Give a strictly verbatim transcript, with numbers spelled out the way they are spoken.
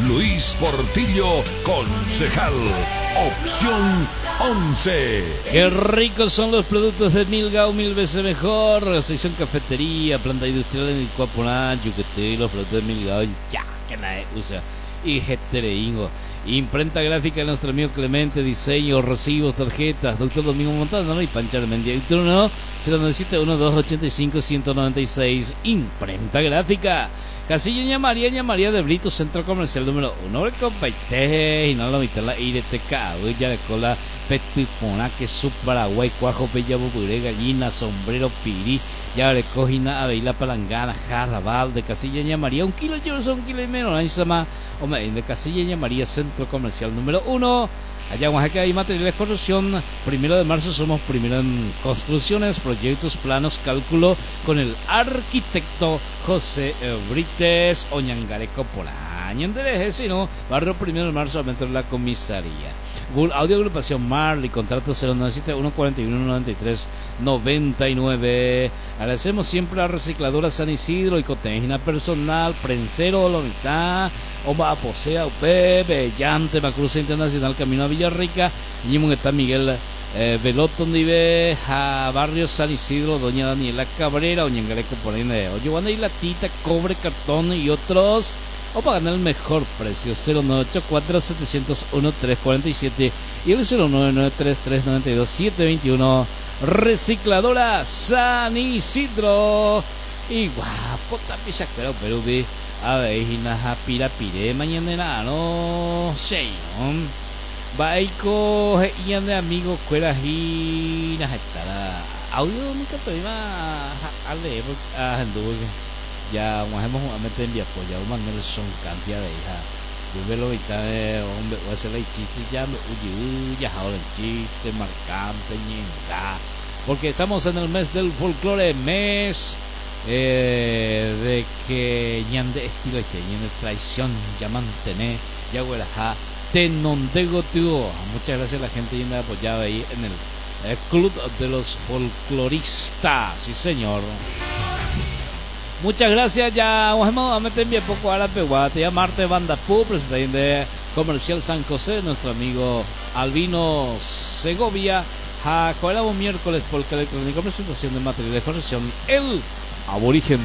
Luis Portillo, concejal. Opción once. Qué ricos son los productos de Milgao, mil veces mejor. Sección cafetería, planta industrial en Ikuaporán, Yuquetí, los productos de Milgao, ya que nadie usa. Y Getereingo. Imprenta gráfica de nuestro amigo Clemente, diseño, recibos, tarjetas, doctor Domingo Montano y Pancha Armendia. Y turno cero nueve siete uno dos ochenta y cinco ciento noventa y seis. Imprenta gráfica. Casilla Ña María, Ña María de Brito, Centro Comercial número uno. El compaite, y no lo mitad la I D T K, ya de cola, petipona, que su Paraguay, cuajo, bella, bubure, gallina, sombrero, pirí, ya de cojina, aveila, palangana, jarra, balde, Casilla Ña María, un kilo, yo un kilo y menos, ahí se llama, hombre, de Casilla Ña María, Centro Comercial número uno. Allá en Oaxaca hay materiales de construcción. Primero de marzo somos primero en construcciones, proyectos, planos, cálculo con el arquitecto José Brites Oñangareco Poraño. Enderece, ¿no? Barrio Primero de Marzo, adentro de la comisaría. Google Audio Agrupación Marley, contrato cero nueve siete uno cuarenta y uno noventa y tres noventa y nueve. Agradecemos siempre a Recicladora San Isidro y Cotejina Personal, Prensero, Lomitá, Oma Aposea, Bebe, Llante, Macruza Internacional, Camino a Villarrica, y está Miguel eh, Veloto, Nive, a Barrio San Isidro, Doña Daniela Cabrera, Oñangareco por ahí, Oye, Juana y Latita, Cobre, Cartón y otros. O pagan el mejor precio, cero nueve ocho cuatro setecientos uno tres cuarenta y siete y el cero nueve nueve tres tres noventa y dos siete veintiuno. Recicladora San Isidro. Y guapo también se acuerda, pero ve a ver, hina pira pire mañana no sé, ¿no? Baiko ian de amigo cuera hina estará audio nunca te iba a leer a ya hemos a meter en viapo ya un Nelson cantidad de hija yo veo lo ahorita de hombre voy a hacer la chiste ya me uy ya ahora el chiste marcante ñenga porque estamos en el mes del folclore, mes eh, de que ñande estilo que ñande traición ya mantener ya huelaja tenondego tío. Muchas gracias a la gente que me ha apoyado ahí en el, el Club de los Folcloristas, sí señor. Muchas gracias, ya vamos a meter bien poco a la peguate, ya Marte Banda Pu, presentación de Comercial San José, nuestro amigo Albino Segovia, Jacoelabo miércoles, polka electrónico, presentación de material de corrección, El Aborigen.